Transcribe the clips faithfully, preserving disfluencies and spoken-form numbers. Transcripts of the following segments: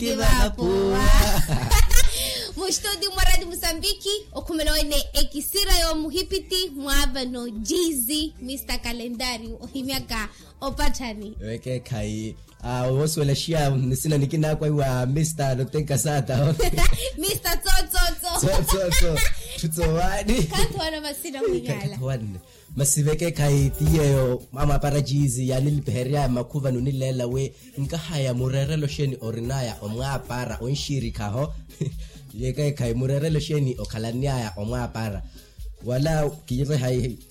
Kivapuwa. Mustudio mwa radio musambiki okhumela wene ekisira y'omuhipiti mwa vano jizi mista kalendari ohimyaka opatthani. Wekeekhayi. Woosuwela shiya nisina nikinaakwa iwa mista notenka sata. Mista tsotsotso. Tsotsotso. Tthu tsowaani. Khathowana masina mwinyala. Masi vekeekhayi ti yeeyo amwaapara jiizi yaanilipiherya makhuva nunileela wi nkahaya mureerelo xeeni orin'aya omwaapara onxiirikhaho? Vekeekhayi mureerelo xeeni okhalan'aya omwaapara wala?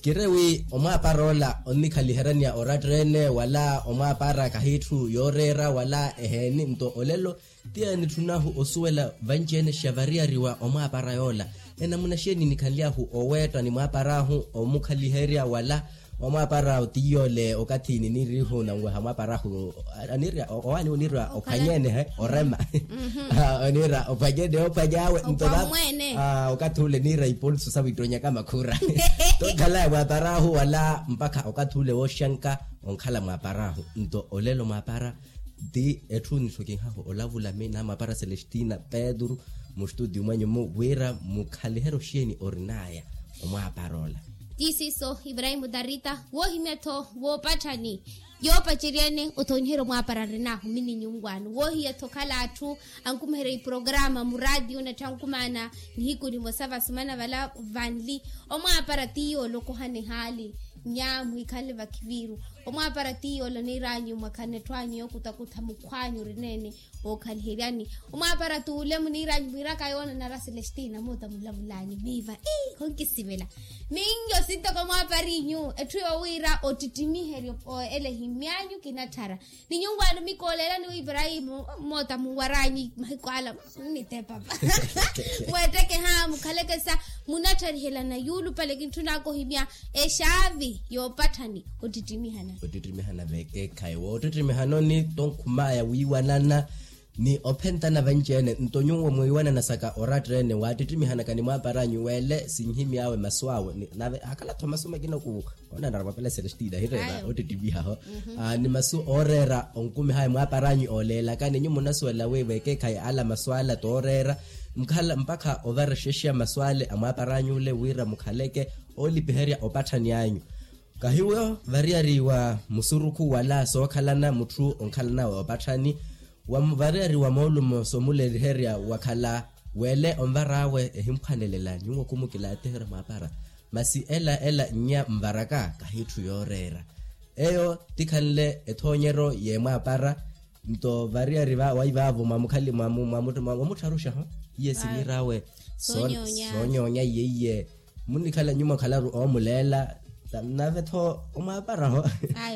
Kire wi omwaapara ola onnikhaliheryaniya oratteene wala omwaapara kahitthu yooreera wala eheeni nto olelo? Ti yaanitthun'ahu osuwela vanci-ene xavariyariwa omwaapara yoola. Enamuna xeeni nikhanly'ahu oweetta ni mwaapar'ahu omukhaliherya wala? Omwaapara tiyoole okathi ninirihu nanweha mwaapar'ahu aniirya owaani oniirya ophwanyene he orema. Oniirya ophwanyene ophwany'awe nto okathi ule niirya ipolso sawiittonyaka makhura. Tokhalaya mwaapar'ahu wala mpakha okathi ule wooxanka onkhala mwaapar'ahu nto olelo mwaapara. Ti etthu nithokinhahu olavula mi namapara celestina petru mustudio mwenyu-mu wira mukhaliheryo xeeni orin'aya omwaapara ola? Ti siiso ibrahimu tarita woohimya-tho woopatthani yoopacerya-ene othonyiherya omwaapara nrinahu mi ni nyunkwaani woohiya-tho okhala atthu ankumiherya iprograma muraatiyo natthi ankumaana nihiku nimosa vasumana vala vanli. Omwaapara ti yoola okohana ehaali nya muhikhanle vakhiviiru. Omwaapara ti yoola oniir'anyu mwakhanne etthu anyu yookutakutha mukhw'anyu orineene. Wookhaliheryani omwaapara t'ule muniir'anyu mwiiraka yoonanara celestina moota mulavul'anyu miiva ii khonkisivela. Miinyo sintoko mwaapariinyu etthu yoowiira ottittimiheryo ele ehimy'anyu kinatthara. Ni nyunkwaani mikooleelani wi ibrahimu moota munwar'anyu mahiku ala nnitepapa. Mweettekeha mukhaleke sa munattarihelana yuulupale kintthun'aka ohimya exaavi yoopatthani ottittimihanani. Ottittimihanani veekeekhayi woottittimihana-ni tonkhum'aya wiiwanana ni ophentana vanci-ene nto nyuwo mwiiwanana saka oratteene waattittimihana kani mwaapar'anyu weele sinhimy'awe masu awe nave hakhala-tho masu makina ku onanara mwapela celestina hireera ottittimihaho. Ni masu ooreera onkumih'aya mwaapar'anyu ooleelaka ni nyu munasuwela wi veekeekhayi ala masu ala tooreera mpakha ovarexexa masu ale a mwaapar'anyu ole wira mukhaleke oolipiherya opatthani anyu. Kahiwo variyari wa musurukhu wala sookhalana mutthu onkhalan'awe opatthani. Variyari wa moolumo soomuleliherya wakhala weele onvar'awe ehimphwanelela nyuwo khumukilaatiherya mwaapara. Masi ela ela nnya nvaraka kahitthu yooreera. Eyo tikhanle ethoonyeryo y'emwaapara. Nto variyari waivaavu mwamukhali mwamuttharuxaho iye siniir'awe soonyoonya iye iye. Munnikhala nyuma okhalaru oomuleela nave-tho omwaaparaho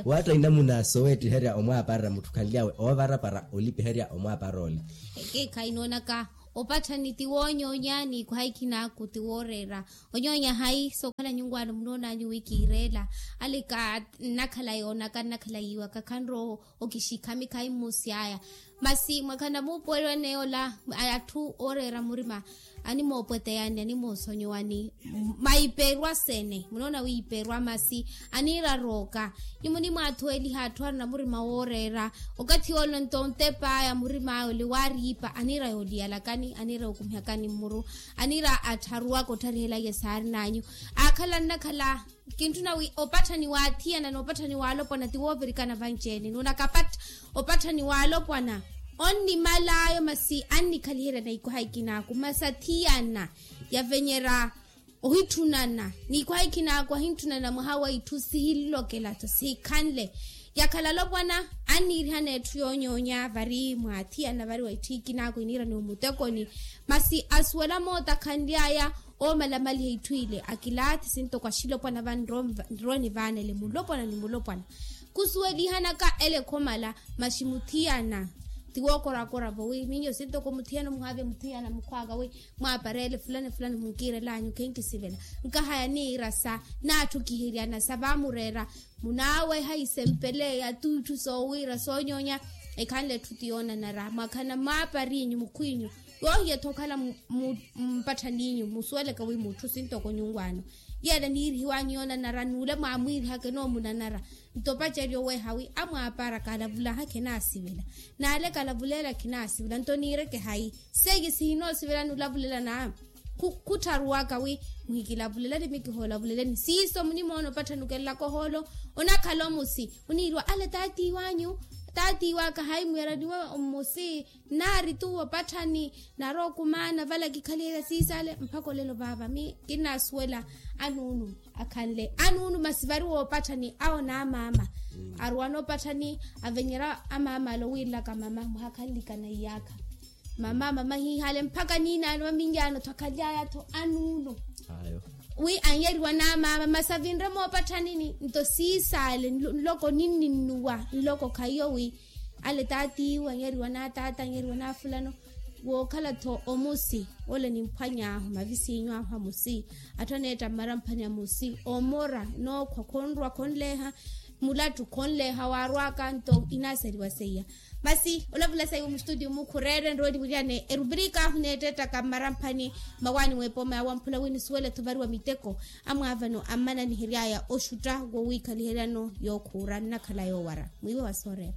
waatta inamuna soweettiherya omwaapara mutthu khanly'awe oovarapara olipiherya omwaapara ole. Ekeekhayi noonaka opatthani ti woonyoonya ni kuhaikhin'aku ti wooreera. Onyoonya hayi sookhala nyunkwaani munoon'anyu wi kiireela ale ka nnakhala yoonaka nnakhala yiiwaka khanrowa okixikha mikhayi mmuusy'aya. Masi mwakhana muupuweliwa-ene ola atthu ooreera murima animoopweteyani animoosonyowani maiperwa sene munoona wiiperwa masi aniira rooka. Nyi munimwaathuweliha atthu arina murima wooreera okathi ole nto ontep'aya murim'aya ole waariipa aniira yooliyalakani aniira yookumihakani mmuru aniira attharuwaka ottharihelaiye saarin'anyu. Aakhala nnakhala kintthuna wi opatthani waathiyana n'opatthani waalopwana ti woovirikana vanci-ene nuunakapattha opatthani waalopwana onnimal'aya masi annikhaliheryana ikwaha ikinaaku masi athiyana yavenyerya ohitthunana n'ikwaha ikinaaku ahintthunana mwaha wa itthu sihilokela-tho sihikhanle. Yakhala alopwana anniirihana etthu yoonyoonya vari mwaathiyana vari wa itthu ikinaaku iniira ni omutekoni masi asuwela moota khanly'aya oomalamaliha itthu ile akilaathi sintoko axilopwana va nrooni vaana ele mulopwana ni mulopwana khusuwelihanaka ele khomala. Maxi muthiyana ti wookorakoravo wi minyo sintoko muthiyana omuhaavya muthiyana mukhw'aka wi mwaapareele fulani fulani munkiirel'anyu khenkisivela nkahaya niirasa naatthukiheryana sa vaamureera munaaweha isempele ya tuutthu soowiira soonyoonya. Ekhanle etthu ti yoonanara mwakhana mwaapariinyu mukhwiinyu, yoohiya-tho okhala mpatthaninyu musuweleke wi mutthu sintoko nyunwaano. Yeela niirihiwanyu yoonanara n'ule mwaamwiirihaka enoomunanara. Nto opacerya oweeha wi amwaapara kalavulaha khinaasivela. N'ale kalavulela khinaasivela nto niireke hayi? Seiye sihinoosivelani olavulela na khuttharuwaka wi muhikilavulelani mikihoolavulelenyi siiso munimoona opatthani okelelaka ohoolo. Onakhala omusi oniiriwa ale taatiiwanyu, taatiiwaka hayi mweeraniwe mmusi. Nnaari tuwo opatthani narowa okumaana vala kikhaliherya siisale mpakha olelo vaava mi kinnaasuwela. Anuunu akhanle anuunu masi vari woopatthani awo n'amaama. Aruwana opatthani avenyerya amaama ale owiirilaka mama muhakhanlikana iyaakha. Mama mama hiihale mpakha niinaano maminyaano-tho akhaly'aya-tho anuuno. Wi anyeriwa n'amaama masi avinre moopatthanini nto siisaale nloko ninninnuwa nloko khaiyo wi ale taatiiwe anyeriwa n'ataata anyeriwa n'afulano. Wookhala-tho omusi ole nimphwany'ahu mavisiinyu ahu amusi atthu aneetta mmaramphani amusi omora nookhwa khonrwa khonleeha mulattu khonleeha waarw'aka nto inaaseriwa seiya. Masi olavula saiwe mustutiyo mukhu oreere nrooliwiriyane erubrika ahu neettettaka mmaramphani mmawaani w'epooma ya wamphula wi nisuwele-tho variwa miteko amwaavano ammananihery'aya oxutta wowiikhaliheryano yookhuura nnakhala yoowara mwiiwe wa sooreera.